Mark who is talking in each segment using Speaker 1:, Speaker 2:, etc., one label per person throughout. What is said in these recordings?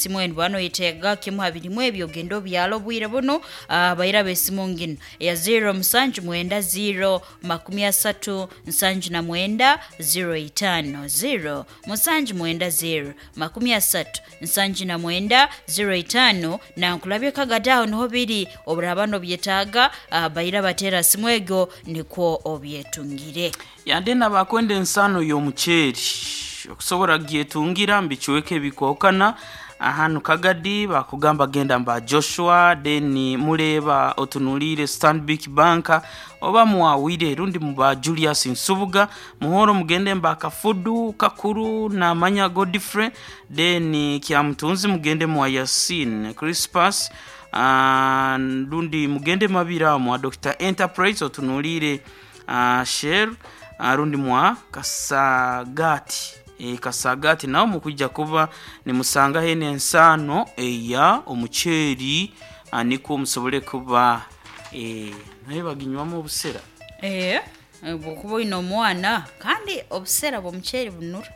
Speaker 1: Simu enu bwaba noyetaaga kimu ha birimu ebi ogende obyale obwire bunu. Bairaba esimu nginu eya 0 musanju mwenda 0 makumi asatu nsanju na mwenda 0 itaano 0 musanju mwenda 0 makumi asatu nsanju na mwenda 0 itaano. Nankulabye Kagadi aho niho biri, oburaaba nobyetaaga bairaba teera simu egyo nikwo obyetungire.
Speaker 2: Yande nabakwenda ensano y'omuceeri okusobora kugyetungira mu bicweka ebikwahukana hanu Kagadi bakugamba genda mba Joshua, then mureeba otunuliire Stanbic Bank oba mwawire rundi muba Julius Nsubuga, Muhoro mugende mba Kafudu Kakuru namanya Godfrey, then Kyamutunzi mugende mwa Yasin Crispas, rundi mugende Mabira mwa Dr Enterprise otunuliire Shell, rundi mwa Kasagati. Kasagati naho mukwija kuba nimusangaho eno ensaano eya omuceeri, nikwo musobole kuba nayo baginywamu obusera.
Speaker 1: Bwokuba oine omwana kandi obusera bw'omuceeri bunura.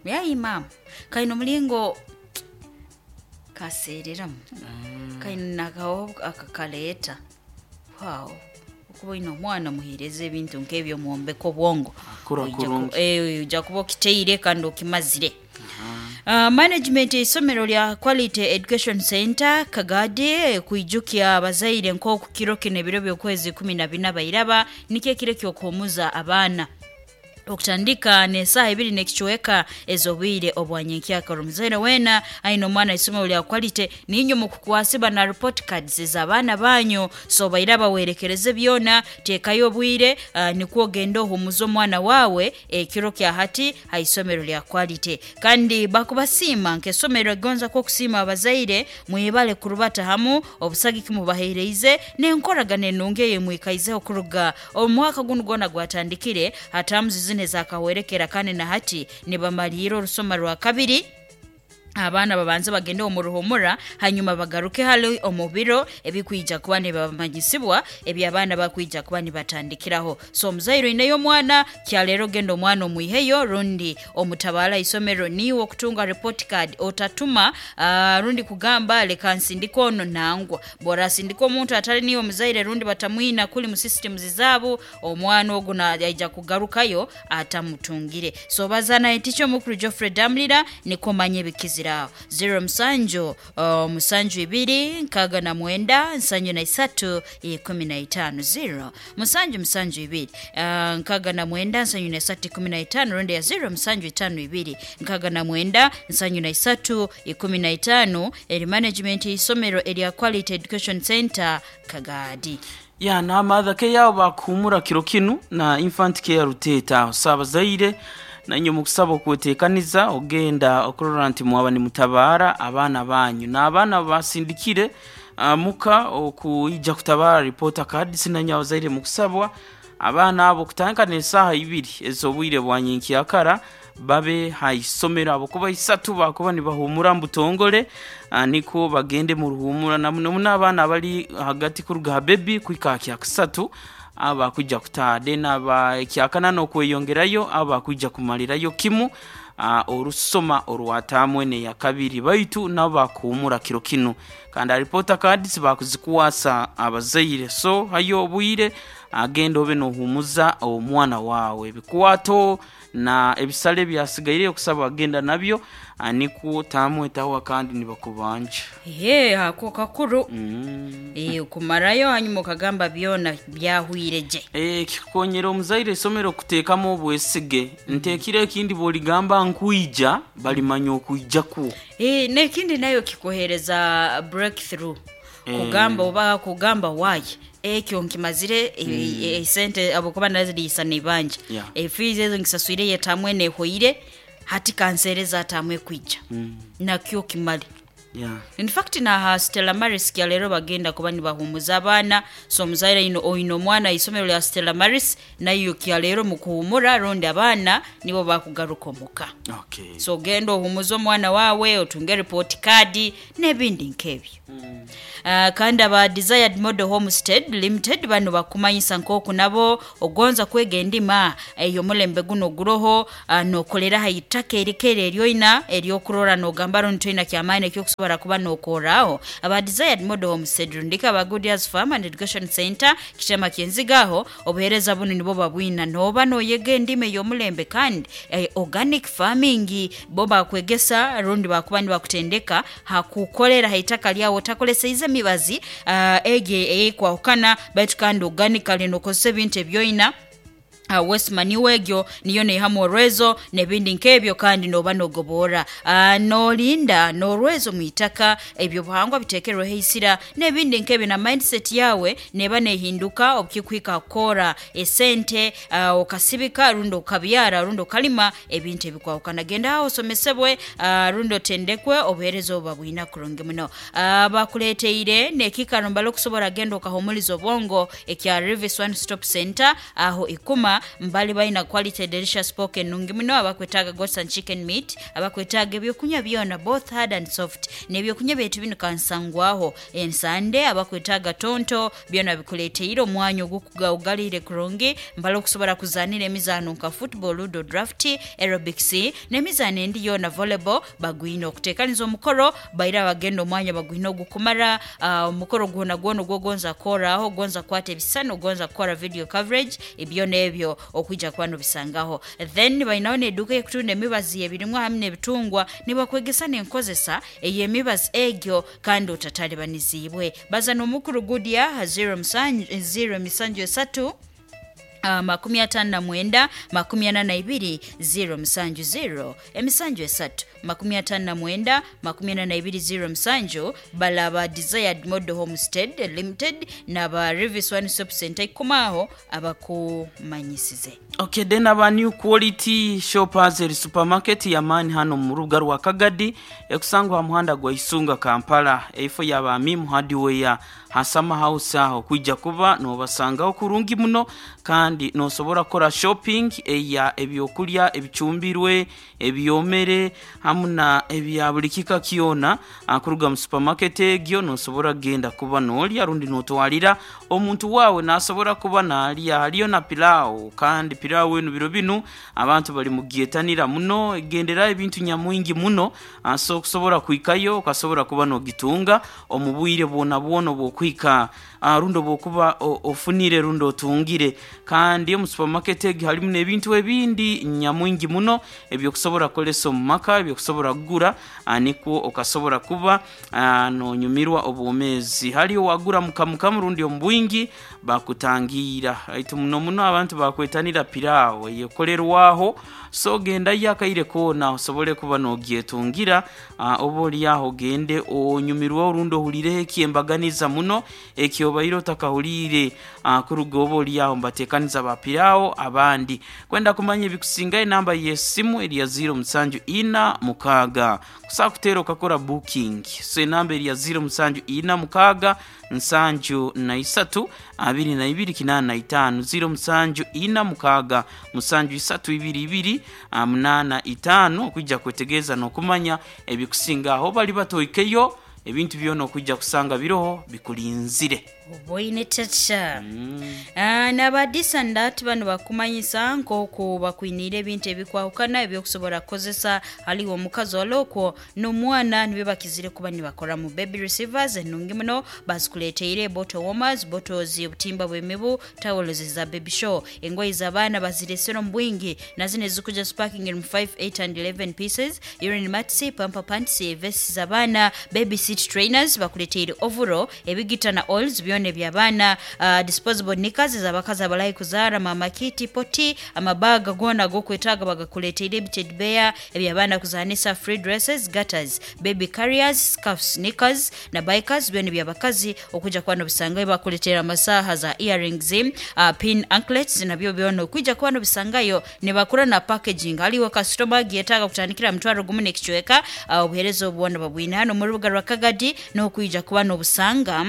Speaker 1: Yayi maama, kaine omulingo kaseereramu, kaine n'akahooho akakaleeta. Waawo, okuba oine omwana omuheereze ebintu nk'ebyo omwombeke obwongo.
Speaker 2: Akura kurungi.
Speaker 1: Oija kuba okiteire kandi okimazire. Management y'eisomero lya Quality Education Centre Kagadi kwijukya abazaire nk'oku kiro kinu ebiro by'okwezi ikumi na bina bairaba nikyo ekiro eky'okuhumuza abaana okutandika n'esaaha ibiri n'ekicweka ez'obwire obwa nyenkyakara. Omuzaire weena aine omwana aisomero lya Quality niinywe mukukwasibwa na report cards ez'abaana banyu, so bairaba werekereze byona, teekayo obwire nikwo ogende ohumuze omwana waawe ekiro kya hati ha isomero lya Quality. Kandi bakubasiima nk'esomero erigonza kwo okusiima abazaire mwebale kurubata hamu obusagiki mubaheereize n'enkoragana enungi ei mwikaizeho kuruga omu mwaka gunu gwona gwatandikire ha taamuzi zinu ezakahwerekera kandi na hati nibamaliira orusoma rwa kabiri. Abaana babanze bagende omu ruhumura hanyuma bagaruke hali omu biro ebikwija kuba nibamanyisibwa eby'abaana bakwija kuba nibatandikiraho. So omuzaire oineyo omwana, kyaleero genda omwana omwiheyo rundi omutabaale aha isomero niiwe okutunga report card otatuma rundi kugamba leka nsindike onu nangwa. Bw'orasindika omuntu atali niiwe omuzaire rundi batamwina kuli mu systems zaabo, omwana ogu naija kugarukayo atamutungire. So baza na teacher omukuru Geoffrey Damulira nikwo omanye ebikizire aho. Ziro musanju musanju ibiri nkaaga na mwenda nsanju na isatu ikumi na itaano. Ziro musanju musanju ibiri nkaaga na mwenda nsanju na isatu ikumi na itaano rundi ya ziro musanju itaano ibiri nkaaga na mwenda nsanju na isatu ikumi na itaano eri management y'eisomero erya Quality Education Centre Kagadi.
Speaker 2: Ya na mother care yabo bakuhumura kiro kinu na infant care Ruteeta aho. So abazaire nainywe mukusaba okwetekaniza ogenda okurora nti mwaba nimutabaara abaana banyu. N'abaana basindikire muka okuija kutabaara report cards nainywe abazaire mukusabwa abaana abo kutandika n'esaaha ibiri ez'obwire bwa nyenkyakara babe ha isomero ahabwokuba isatu bakuba nibahumura mu butongole, nikwo bagende mu ruhumura na muno muno abaana abali hagati kuruga ha bebi kuhika ha kyakasatu abo bakwija kutaaha then aba ekyakana n'okweyongerayo abo bakwija kumalirayo kimu orusoma orwa taamu enu eyakabiri baitu nabo bakuhumura kiro kinu kandi alipoota cards bakuzikwasa abazaire so hayo obwire agenda obe nohumuza omwana wawe ebikwato na ebisale ebyasigaireyo okusaba agenda nabyo nikwo taamu etahwa kandi nibakubanja.
Speaker 1: Eeh ako kakuru. Kumarayo hanyuma okagamba byona byahwire gye.
Speaker 2: Kikukonyera omuzaire isomero kuteekamu obwesige nti ekiro ekindi bwoligamba nkwija balimanya okwija kwo.
Speaker 1: N'ekindi nayo kikuheereza breakthrough kugamba oba kugamba waaye ekyo nkimazire esente ahabw'okuba naziriisa n'eibanja efiizi ezo nkisaswire eyo etaamu enu ehweire hati kanseereze ataamu ekwija nakyo okimare.
Speaker 2: Yeah.
Speaker 1: In fact, naha Stella Maris kya leero bagenda kuba nibahumuza abaana. So omuzaire ino oine omwana isomero lya Stella Maris, nayo kya leero mukuhumura rundi abaana nibo bakugaruka omuka.
Speaker 2: Okay.
Speaker 1: So ogenda ohumuza omwana wawe, otunge report card n'ebindi nk'ebyo. Kandi aba Desired Model Homestead Limited bano bakumanyisa nk'oku nabo ogonza kwega endima ey'omulembe guno guroho, nokolera ha itaka erikere eryoina eryokurora nogamba rundi toina kyamaani ekyokusobora kuba nokoraho. Aba Desired Model Homestead rundika aba Good Years Farm and Education Center kitema kyenzigaho, obuhereza bunu nibo babwina noba noyega endima ey'omulembe kandi organic farming bo bakwegesa rundi bakuba nibakutendeka hakukolera ha itaka lyawe otakoleseize emibazi egi eyekwahukana, baitu kandi organically nokozesa ebintu ebyoina. Waste manure egyo niyo neihamu orwezo n'ebindi nk'ebyo, kandi noba nogobora, nolinda n'orwezo mu itaka, ebyobuhangwa bitekerweho eisira n'ebindi nk'ebyo, na mindset yawe neba nehinduka obukikuhika kukora esente, okasibika rundi okabyara rundi okalima ebintu ebikwahukana. Genda aho osomesebwe, rundi otendekwe, obuheereza obu babwina kurungi muno. Bakuleteire n'ekiikaro mbali okusobora genda okahumuliza obwongo ekya Rivis One Stop Center aho ikuma mbali balina quality delicious pork enungi muno, abakwetaaga goats and chicken meat, abakwetaaga ebyokunywa byona both hard and soft, n'ebyokunywa byaitu binu kansangwaho ensande, abakwetaaga tonto byona bikuleteire omwanya ogukugaugaliire kurungi mbali okusobora kuzanira emizaano nka football, ludo, draft, aerobics n'emizaano endi yoona, volleyball bagwine okuteekaniza omukoro baira bagenda omwanya bagwine ogukumara, omukoro gwona gwona ogwogonza kukoraho, ogonza kukwata ebisisani, ogonza kukora video coverage, ebyo n'ebyo okwija kuba nobisangaho. Then bainaho n'eduuka ey'okutunda emibazi y'ebirimwa hamwe n'ebitungwa, nibakwegesa n'enkozesa ey'emibazi egyo kandi otatalibanizibwe. Baza n'omukuru Gudia ha 0 0 misanju esatu, 59 42 0 musanju 0 emisanju esatu 59 42 0 musanju. Balaba Desired Model Homestead Limited n'aba Rivis One Stop Center ikumaho abakumanyisize.
Speaker 2: Okay, then aba New Quality Shoppers eri supermarket yamaani hano mu rubuga rwa Kagadi ekusangwa ha muhanda gwa Isunga Kampala, eifo yaba Mim Hardware hasama house aho kwija kuba nobasangaho kurungi muno, kandi nosobora kukora shopping eya ebyokulya ebicumbirwe, ebyomere hamu na ebya buli kika kyona kuruga mu supermarket egyo. Nosobora kugenda kuba nolya rundi notwalira omuntu wawe nasobora kuba nalya. Haliyo na pilau, kandi pilau enu biro binu abantu bali mugyetanira muno, egendera ebintu nyamwingi muno, so okusobora kuhikayo okasobora kuba nogitunga omu bwire bwona bwona obwokuhika, rundi obwokuba ofunire rundi otungire. Kandi omu supermarket egi harimu n'ebintu ebindi nyamwingi muno ebyokusobora kukolesa omu maka, ebyokusobora kugura, nikwo okasobora kuba nonyumirwa obwomeezi. Haliyo wagura mukamukamu rundi omu bwingi bakutangira, aitu muno muno abantu bakwetanira pilau eyekolerwaho. So gendayo akaire koona osobole kuba nogyetungira, oba oli aho ogende onyumirwe orundi ohulireho ekyembaganiza muno ekyobaire otakahuliire, kuruga oba oli aho mbateekaniza ba pilau abandi. Kwenda kumanya ebikusingayo, enamba y'esimu eri ya 0746 kusobola kuteera okakora booking. So enamba eri ya 0746 73 22 85, 0746 73 22 85, okwijja kwetegereza n'okumanya ebikusinga aho bali batoikeyo ebintu byona okwijja kusanga biroho bikulinzire.
Speaker 1: Oboine tacha. N'aba Disandat bano bakumanyisa nk'oku bakwiniire ebintu ebikwahukana ebyokusobora kukozesa haliwo omukazi olokwo n'omwana nibyo bakizire kuba nibakoramu baby receivers enungi muno bazikuleteire, bottle warmers, bottles, obutimba bw'emibu, towels za baby show, engoye z'abaana baziresere omu bwingi na zino ezikuja sparking mu 5, 8 and 11 pieces, urine mats, pamper pants, vests z'abaana, baby seat trainers, bakuleteire overall ebigita na oils byona. Byona eby'abaana, disposable knickers z'abakazi abalahi kuzaara, mama kiti poti, amabaga goona ag'okwetaaga bagakuleeteire, ebiteddy bear eby'abaana kuzaanisa, free dresses, gutters, baby carriers, scarfs, sneakers na bikers, byona eby'abakazi okwija kuba nobisangayo. Bakuleetera amasaaha za earrings, pin anklets, nabyo byona okwija kuba nobisangayo. Nibakura na packaging haliwo kasitoma agyetaaga kutandikira 10,000 n'ekicweka. Obuheereza obu bwona babwine hano mu rubuga rwa Kagadi, n'okwija kuba nobusanga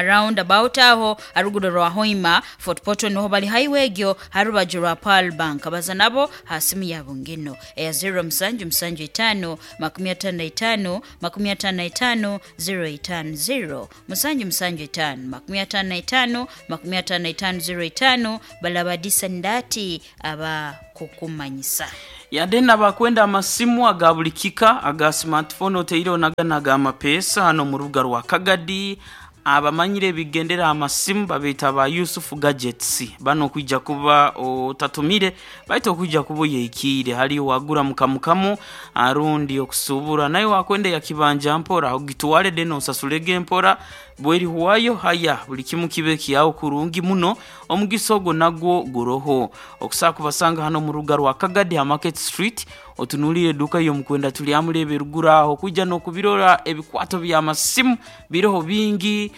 Speaker 1: round about aho harugudo rwa Hoima Fort Portal, niho bali, highway egyo harubaju rwa Pearl Bank. Baza nabo ha simu yabo ngeno eya 0775 55 55 050, 775 55 55 05. Balabadisa ndati aba kukumanyisa.
Speaker 2: Yade nabakwenda amasimu aga buli kika aga smartphone oteireho nagana aga mapeesa hano mu rubuga rwa Kagadi, abamanyire ebigendera amasimu babeeta ba Yusufu Gadgets. Bano okwija kuba otatumire baitu okwija kuba oyekiire haliyo wagura mukamukamu arundi okusuubura, naye wakwenda ya kibanja mpora ogitwale then osasulege mpora bwerihwayo. Haya, buli kimu kibe kyawo kurungi muno. Omugisa ogwo nagwo guroho okusobola kubasanga hano mu rubuga rwa Kagadi ha Market Street. Otunuulire eduuka y'omukwenda tulyamuleba eruguru aho, kwija n'okubirora ebikwato by'amasimu biroho bingi.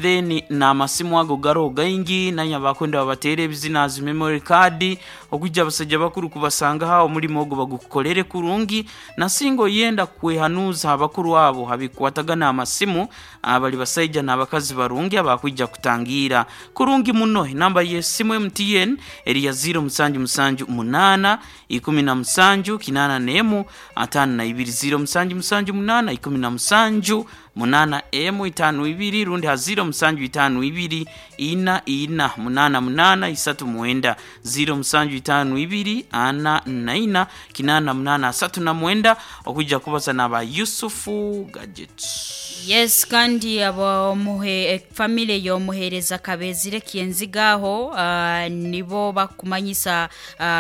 Speaker 2: Then n'amasimu ago garoho gaingi, nanye abakwenda babateera ebizina zi memory card, okwijja abasajja bakuru kubasanga aho omulimo ogwo bagukukolere kurungi. Nasinga oyenda kwehanuuza abakuru abo habikwatagana amasimu, bali basaija n'abakazi barungi abakwija kutangira kurungi muno. Enamba y'esimu MTN eri ya 0778 17 81 52, 0778 17 8 M 52, rundi ha 0752 4 4 8 8 39, 0752 4 4 8 8 39, okwijja kubaza n'aba Yusufu Gadgets.
Speaker 1: Yes, kandi abomuhe family y'omuheereza Kabezire Kyenzigaho, nibo bakumanyisa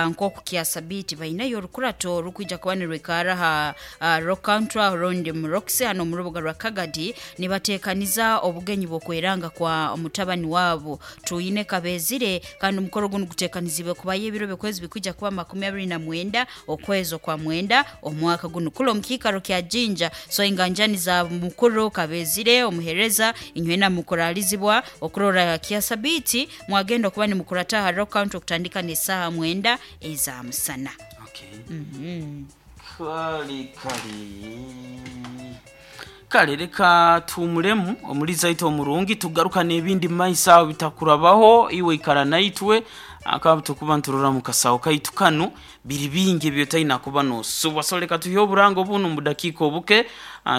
Speaker 1: nk'oku kyasabiti bainayo orukurato rukwija kuba nirwikara ha Rock Country rundi mu Roxy hano mu rubuga rwa Kagadi. Nibateekaniza obugenyi bw'okweranga kwa omutabani wabo Tuyine Kabezire, kandi omukoro guno guteekanizibwe kubayo ebiro by'okwezi bikwija kuba 29 okwezi okwa mwenda omwaka guno kula omu kiikaro kya Jinja. So enganjani za mukuru Kabezire omuhereza, inywena mukuralizibwa okurora kyasabiti mwagenda okuba nimukurata ha Rock Country okutandika n'esaaha 9 eza musana.
Speaker 2: Okay. Kale kale kale, reka tuumulemu omuliza aitu omurungi, tugaruka n'ebindi mumaiso aho bitakurabaho. Iwe ikara naitwe akaba tukuba nturora mu kasaho kaitu kanu biri bingi ebyotaina kuba nosubwa. So reka tuhe oburango bunu mu budakiika obuke,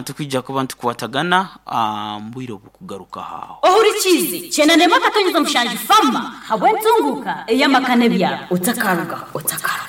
Speaker 2: tukwija kuba ntukwatagana mbwire obukugaruka haho.
Speaker 3: Ohurikize 98.7 fama habw'entunguka ey'amakane byabo otakaruga otakaruga.